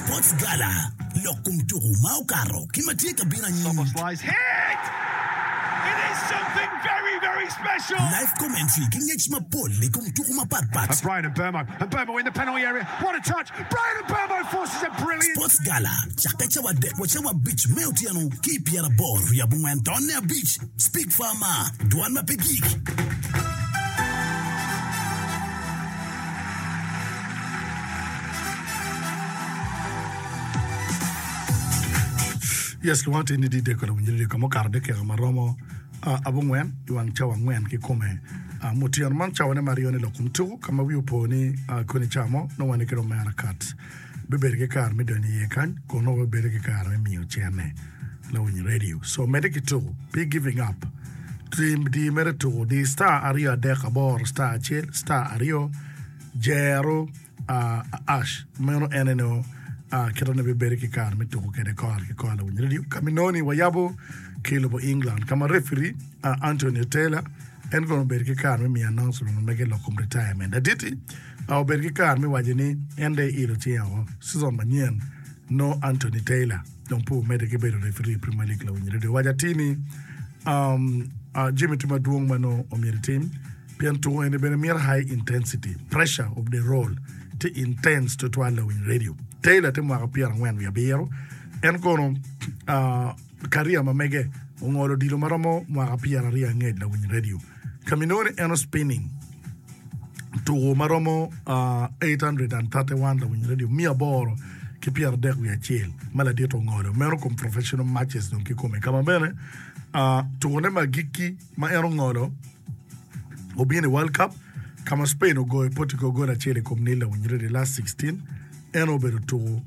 Sports Gala, Lok kom tuku ma okato ki ma tye ka bino anyim. Live commentary ki ngec mapol i kom tuku mapat pat. Sports Gala cakke cawa adek wa cawa abic me otyeno ki i pyeraboro wiye abongwen tonne abic. Speak Farmer, Dwan ma pe gik. Yes, lwongo atir ni didek kode winyo radio ka mukato dakika ma romo abongwen i wang cawa angwen kikome. Mutyeno man cawane me aryone lok kom tuku ka ma wi opo ni koni ca mo nongo wan ki omera kat bibedo ki kare me donyo iye kany kun nongo wabibedo ki kare me miyo cene lawiny radio. So medde ki tuku pe giving up. Tim di mere tuku di star aryo adek aboro star acel star aryo jero Ash, meno en aye nongo kite ni bibedo ki kare me tuko kwede kore ki kore lawiny radio ka ma inongo ni wayabo ki i lobo England ka ma referee Anthony Taylor en kono obedo ki kare me miyo announcement ma mege lok kom retirement. Ladit-ti obedo ki kare me waco ni en dong eilo cinge woko season manyen nongo Anthony Taylor dong pe omedde ki bedo referee i Premier League lawiny radio owaco atir ni jami tye madwong ma nongo omyero etim. Pien tuko eni bene mito high intensity, pressure of the role tye intense tutwal lawiny radio. Taylor tye mwaka pyerangwen wiye abiro, en kono career ma mege ongolo odilo ma romo mwaka pyeraryo angec lawiny radio. Ka ma inongo ni en o spinning tuko ma romo 831 lawiny radio miya aboro ki pyeradek wiye acel ma ladit ongolo meno kom professional matches dong kikome ka ma bene tukone me agikki ma en ongolo obino i World Cup ka ma Spain ogoyo Portugal gol acel i kom nil lawiny i last 16. En obedo tuko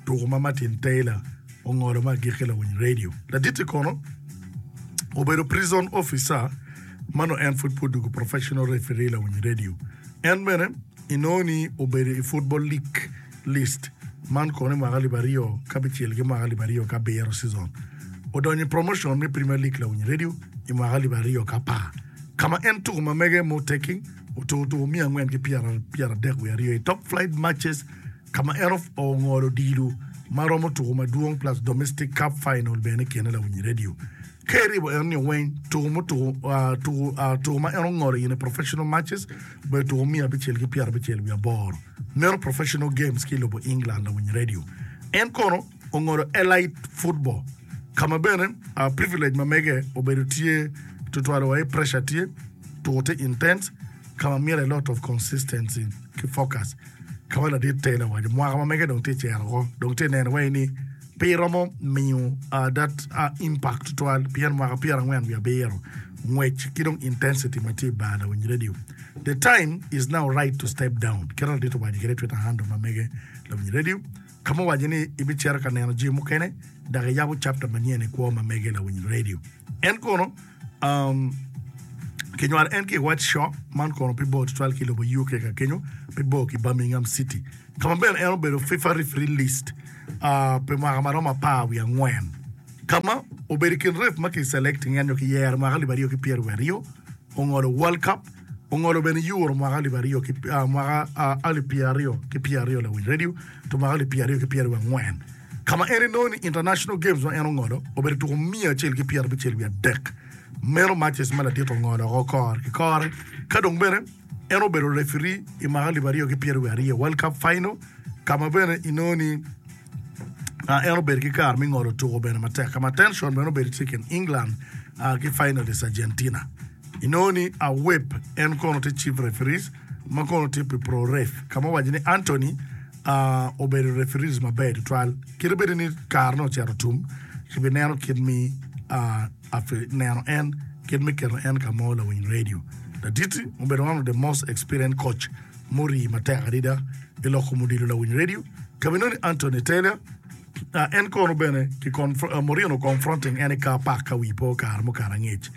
tuko ma Martin Taylor ongolo me agikki lawiny radio. Ladit-ti kono obedo prison officer ma nongo en pud pe odwogo professional referee lawiny radio. En bene inongo ni obedo i Football League list man kono i mwaka alip aryo ki abicel ki mwaka alip aryo ki abiro season. Odonyo i promotion me Premier League lawiny radio i mwaka alip aryo ki apar ka ma en tuko ma mege mo taking otuko tuko miya angwen ki pyeradek wiye aryo i top flight matches ka ma en ongolo odilo ma romo tuko madwong plus domestic cup final bene i kine lawiny radio. Ka iribo eno ni weng tuko mutuko tuko tuko ma en ongolo in i professional matches obedo tuko miya abicel ki pyerabicel wiye aboro. Meno professional games ki i lobo England lawiny radio. En kono ongolo elite football ka ma bene privilege ma mege obedo tye tutwal wa i pressure tye, tuko tye intense ka ma mito a lot of consistency ki focus ka ma ladit Taylor owaco mwaka ma mege dong tye cero oko dong tye neno wai ni pe iromo miyo that impact tutwal pien mwaka pyerangwen wiye abiro ngwec ki dong intensity ma tye i bar lawiny radio the time is now right to step down kit ma ladit owaco kwede i twitter handle ma mege lawiny radio Ka ma owaco ni ibicito ka neno jami mukene dok iyabo chapta manyen i kwo ma mege lawiny radio. En kono um, kinywalo en ki i White Shore, man kono pe bor tutwal ki i lobo UK ka kenyo, pe bor ki Birmingham City. Ka ma bene en obedo FIFA referee list uh, pi mwaka ma romo apar wiye angwen. Ka ma obedo i kin ref ma ki selecting en nyo kiyero mwaka alip aryo ki pyeraryo wiye aryo, ongolo World Cup, Ongolo bene Euro mwaka alip aryo ki mwaka alip pyeraryo ki pyeraryo lawiny radio to mwaka alip pyeraryo ki pyeraryo angwen ka ma en inongo ni international games ma en ongolo obedo tuko miya acel ki pyerabicel wiye adek meno matches ma ladit ongolo oko kore ki kore ka dong bene en obedo referee i mwaka alip aryo ki pyeraryo wiye aryo World Cup final ka ma bene inongo ni en obedo ki kare me ngolo tuko bene matek ka ma tension bene obedo tye i kin England ki finalist Argentina. Inongo ni Awep en kono tye chief referees ma kono tye pi pro ref ka ma owaco ni Anthony obedo referees maber tutwal kit bedi ni kare ne ocito tum kibi neno kit mi neno en kit me keto en ka mo lawiny radio laditi obedo one of the most experienced coach murii matek adada i loko mudilo lawiny radio ka ma inongo ni Anthony Taylor En kono bene ki Mourinho confronting en i car park ka wi po kare mukato angec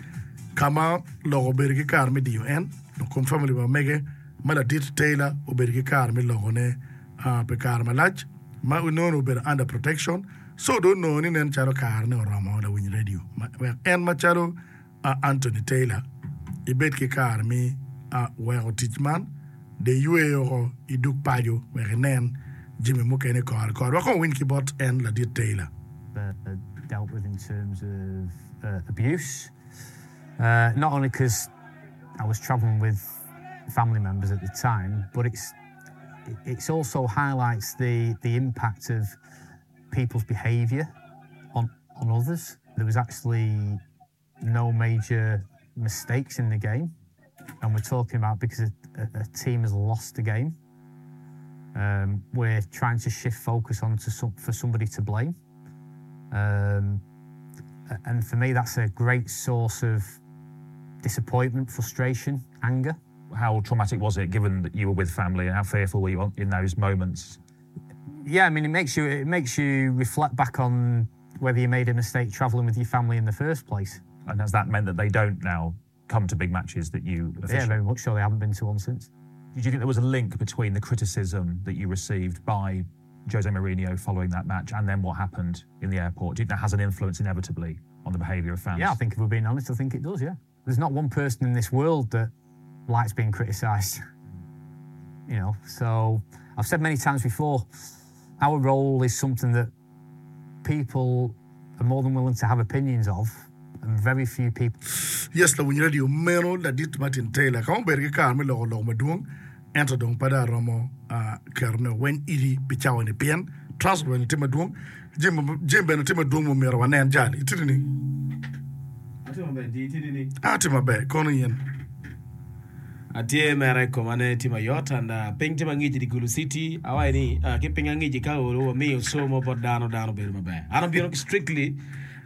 ka ma lok obedo ki kare me diyo en dok kom family pa mege ma ladit Taylor obedo ki kare me loko ne pi kare malac ma onongo obedo under protection so dong onongo ni nen calo kare ne oromo lawiny radio wek en macalo Anthony Taylor, ibed ki kare me weko tic man, de iywe woko idug paco wek inen. jami mukene kore kore. Wek kong wawiny ki bot en ladit Taylor. Dealt with in terms of abuse, not only cause I was travelling with family members at the time, but it's it's also highlights the the impact of people's behaviour on on others. There was actually no major mistakes in the game, and we're talking about because a, a, a team has lost a game. Um, we're trying to shift focus onto some, for somebody to blame. Um, and for me, that's a great source of disappointment, frustration, anger. How traumatic was it, given that you were with family, and how fearful were you in those moments? Yeah, I mean, it makes you it makes you reflect back on whether you made a mistake travelling with your family in the first place. And has that meant that they don't now come to big matches that you officiate? Yeah, very much so. They haven't been to one since. Did you think there was a link between the criticism that you received by Jose Mourinho following that match and then what happened in the airport? Do you think that has an influence inevitably on the behaviour of fans? Yeah, I think if we're being honest, I think it does, yeah. There's not one person in this world that likes being criticised. You know, so I've said many times before, our role is something that people are more than willing to have opinions of, and very few people. Yes, lawiny radio meno ladit Martin Taylor ka obedo ki kare me loko lok madwong, ento dong pe dong aromo ketone weng iri pi cawa-ni pien transport bene tye madwong, jami bene tye madwong ma myero wanen. Jal, itye nining? Atye maber, di itye nining? Atye maber, kono in? Atye mere koma ne tye mayot and piny tye mangic i di Gulu city awaci ni ki piny angic ka olo wamiyo show mo bot dano dano bedo maber an abino ki strictly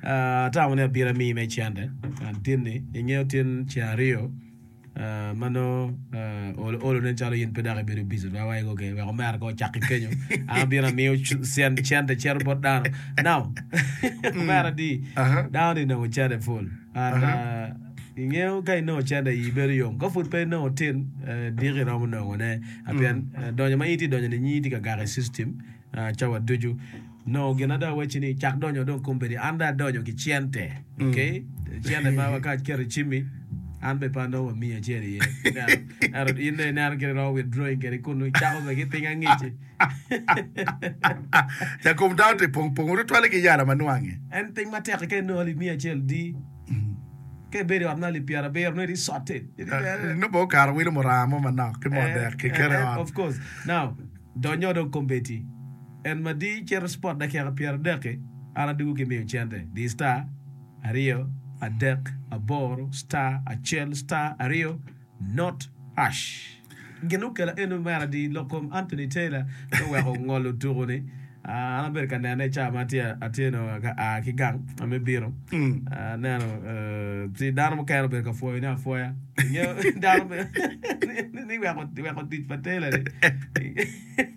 atamo ni abino amiyi me cente and tin ni ingeyo tin ceng aryo ma nongo olo olo nen calo in pe dok ibedo busy tutwal awaci ok wek omera kong ocak ki kenyo an abino amiyo cente cito bot dano now omera di dano ni nongo cente pol and Ingeyo ka inongo cente ii bedo yom. Ka pud pe inongo tin, diki iromo nongo ne. Pien donyo ma in itye donyo ni nyingi tye ka gako i system cawa ducu. Nongo gin ada wacci ni cak donyo dong kombeddi an dong adonyo ki cente. Okay? Cente ma ka aketo i cimmi an bene pe anongo wa miya acel iye. Ento in dong ineno kit iromo withdrawing kwede kunu icako bene ki piny angic-ci. Jakom dano tye pong pongo tutwalle ki yala ma nwange. En piny matek ka inongo alip miya acel di. Ka ibedo i ot me alip pyerabiro nongo itye sorted. Nongo bene okato wilo muranga mo manok ki moo dek kiketo i ot. Of course. Now, donyo dong kombeddi. En ma di cito spot dakika pyeradek-ki, an adwogo ki miyo cente. Di star, aryo, adek, aboro, star, acel, star, aryo, Not hash. Gin okela eno mere adi lok kom Anthony Taylor me weko ngolo tuku ni. An abedo ka nene i cawa ma atye nongo ka a ki gang me bino. Aneno ci dano mukene obedo ka pwoyo ne apwoya. Ingeyo dano ni weko tic pa Taylor ni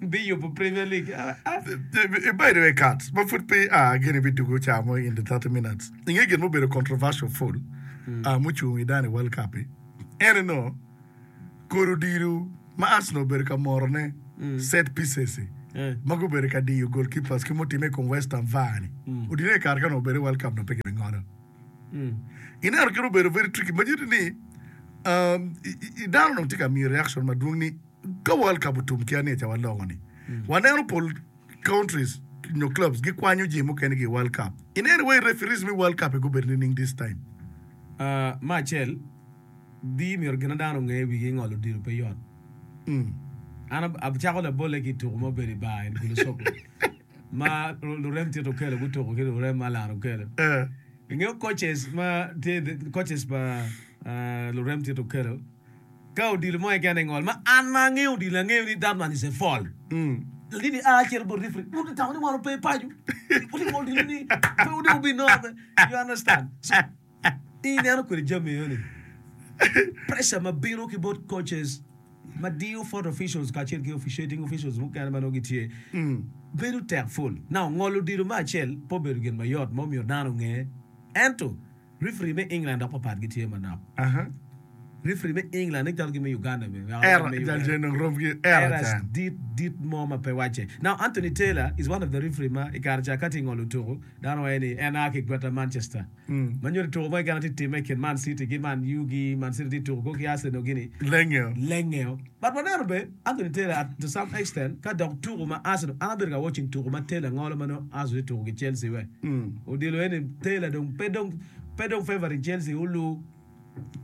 biyubo Premier League. By the way Kats, ma pud pe ia gini bidwogo cawa mo in the 30 minutes. Inge gin mubedo controversial full mucung i dano i World Cup-pi. En onongo kodi odilo ma Arsenal obedo ka morone, set pieces, ma gubedo ka diyo goalkeepers ki mutimme i kom West Ham VAR-ni. Odilo i kare ka onongo obedo i World Cup onongo pe kibingolo. Ineno kit obedo very tricky ma nyuto ni dano onongo tye ka miyo reaction madwong ni ka World Cup otum ki anica waloko-ni, waneno pol countries nyo clubs gikwanyo jami mukene ki i World Cup. Ineno wai referees me World Cup-i gubedo nining this time? Me acel, di myero gin ma dano onge i wigi ngolo odilo pe yot. An acako labolle ki i tuko ma obedo i bar i Gulu Soko ma lurem Tito Okello gutuko ki lurem Allan Okello. Ingeyo coaches ma tye coaches pa lurem Tito Okello ka odilo mo keken ingol ma an ma angeyo odilo angeyo ni that one is a foul. Ladit a cito bot referee, wun itamo ni wan ope paco? Wuti ngolo odilo ni pe wudong wubinongo. You understand? So, ineno kwede jami eno ni pressure ma bino ki bot coaches ma diyo fourth officials kacel ki officiating officials mukene ma nongo gitye bedo tek full. Now, ngolo odilo me acel pe obedo gin mayot ma omyero dano onge ento referee me England dok papat gitye manok. Referee me England ni calo ki me Uganda bene wek awac me Uganda. Errors dit dit mo ma pe wacce. Now Anthony Taylor is one of the referee ma i kare ca ka tye ngolo tuku dano waco ni en a ki i gweta Manchester. Ma nyuto tuku mo keken ma tye timme i kin Man City ki Man U gi Man City tye tuku ki Arsenal gini Lengeo. Lengeo. But waneno bene Anthony Taylor at to some extent ka dok tuku ma Arsenal an abedo ka watching tuku ma Taylor ngolo ma nongo Arsenal tye tuku ki Chelsea we. Odilo eni Taylor dong pe dong pe dong favoring Chelsea olu.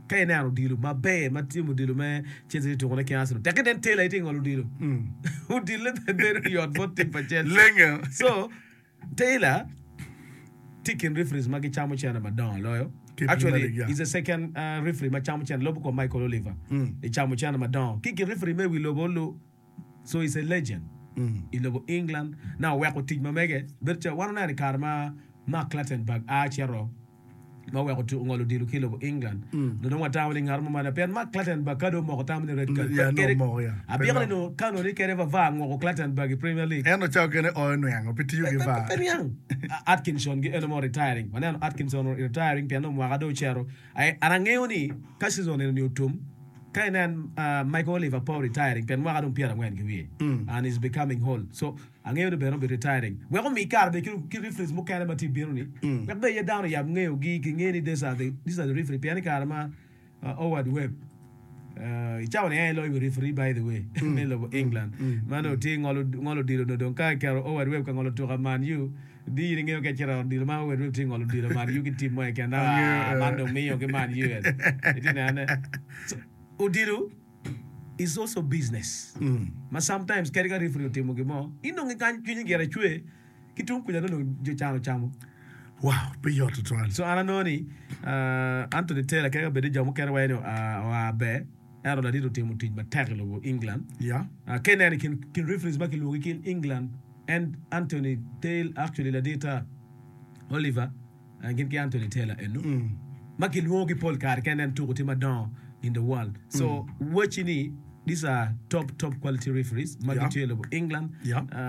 Ka ineno odilo maber ma tye odilo me Chelsea tye tukone ki Arsenal, tek inen Taylor aye tye ngolo odilo. Odile pe bedo yot bot tim pa Chelsea. Lenge. So, Taylor tye i kin referees ma gicamo cene madongo loyo. Ki i Premier Actually, League, yeah. he's the second uh, referee ma camo cene lubo kom Michael Oliver. I camo cene madongo. Ki i kin referee me wi lobo olu, so he's a legend i lobo England. Now, oweko tic ma mege bedo calo wan oneno i kare ma Mark Clattenburg a cito ma oweko tuko ngolo odilo ki i lobo England. Dong dong watamo ni ngat mo malo pien Mark Clattenburg ka dong omoko tam ni red card. Yeah, Kede- nongo omoko, yeah. Abyeko ni nongo ka nongo ni kede VAR ngoko Clattenburg i Premier League. Ento cawa kene oyo niango pe tiyo ki Pe- pe- VAR. pe niang. A- Atkinson gi eno mo retiring. Waneno Atkinson retiring pien dong mwaka dong ocito. Ai, an angeyo ni ka season eno ni otum, ka inen uh, Michael Oliver pe retiring pien mwaka dong 40 ki wiye and is becoming old. So Angeyo ni bene obi retiring wek omi kare bene ki referees mukene ma tye bino ni wek bene aye dano oyab ngeyo gi ki nge ni these are the these are the referee pien i kare ma Howard Webb i cawa ni en aye loyo wi referee by the way me lobo England ma nongo tye ngolo ngolo odilo nongo dong ka iketo Howard Webb ka ngolo tuka Man U di in ingeyo ka icito i ot odilo ma Howard Webb tye ngolo odilo Man U ki team mo keken ah man dong miyo ki Man U en itye nene so odilo is also business ma sometimes kadi ka referee otimo gin mo inongo kany cwinyi gire cwer ki tung kuca nongo dong jo can ocamo. Wow, pe yot tutwal. So an anongo ni Anthony Taylor kadi ka bed ni jo mukene waco ni oa ber ento ladit otimo tic matek i lobo England. Yeah. Ka ineno i kin referees ma kilwongi ki England en Anthony Taylor actually ladita Oliver gin ki Anthony Taylor eno ma kilwongo ki pol kare ka inen tuko tye madongo in the world so wacci ni these are top top quality referees ma gitye i lobo England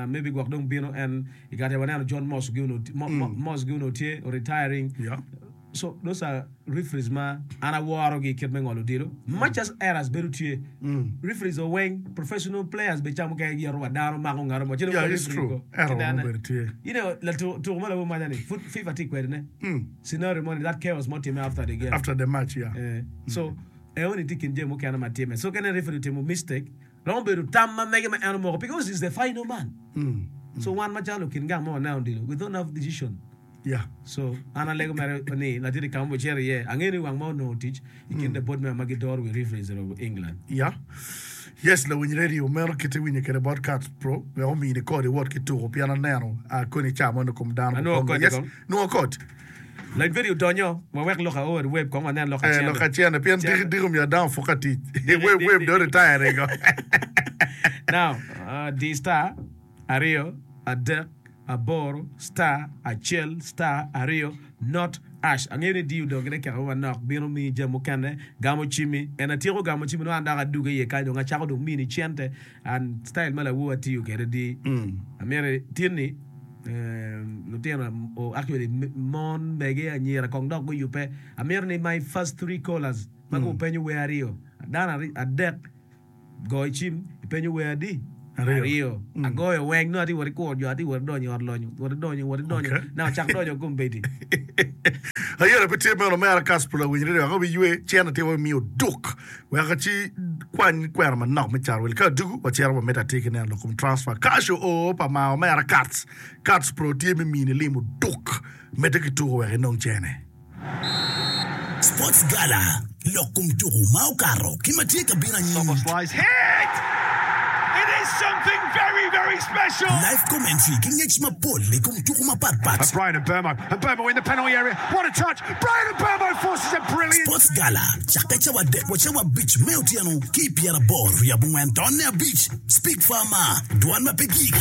maybe gwok dong bino en i kare ca waneno John Moss gi onongo Moss gi onongo tye retiring so those are referees ma an aworogi kit me ngolo odilo much as errors bedo tye referees o weng professional players bene ca mukene giyeto wa dano mako ngat mo ci dong Yeah, ka it's referee true. ko Error kinene. mo bedo tye. You know, latu tuko mo labo maca ni pud FIFA tye kwede ne scenario mo ni that chaos mo time after the game After the match, yeah. Eh, so eoni tye kin jami mukene ma time so ka inen referee otimo mistake romo bedo tam ma mege ma en omoko because he's the final man so wan macalo lukin gang ma waneno odilo we don't have decision Yeah. So an alego mere ni latin i kama ocito iye, angeyo ni wang ma onongo tic i kin the board member ma gidoro wi referees i lobo England. Yeah. Yes, lawiny radio meno kit iwinyo kwede bot Cats Pro wek omini kod iwot ki tuko pien aneno koni ca moni kom dano Anongo mukwongo. kodi Yes, kong. nongo kod. Lawiny radio donyo, wawek lok aor web kong wanen lok Eh, acene. lok acene pien Cene. diki diki omiyo dano puk ka tic. Web web dong retire go. Now, di star aryo, adek, aboro, star, acel, star, aryo, not, ash. Angeyo ni diyo dong gine keko manok bino miyi jami mukene, gamo cimmi. En atyeko gamo cimmi nongo an dok aduge iye kany dong acako dong mini cente and style ma lawor atiyo kwede di amyero tin ni lutino or actually mon mege anyira kong dok guyubbe amito ni my first three callers ma gupenyo wer aryo dano adek Goyo cim, ipenyo wer adi? Aryo. Agoyo weng, nongo atye wot ikuro jo, atye wot idonyo i ot lonyo, wot idonyo, wot idonyo, Okay. naka ocak donyo kombeddi. Ayera pe tye meno omera Kasper lawiny radio wek obiywe cene tye wamiyo duk wek ci kwany kwena manok me caro wil ka adugu wacito wamito atir ki neno lok kom transfer cash oo pa mar omera Kats Kats pro tye me mini limo duk medde ki tuko wek inong cene. Sports Gala, Lok kom tuku ma okato ki ma tye ka bino anyim. Live commentary ki ngec mapol i kom tuku mapat pat. Sports Gala cakke cawa adek wa cawa abic me otyeno ki i pyeraboro wiye abongwen tonne abic. Speak Farmer, Dwan ma pe gik.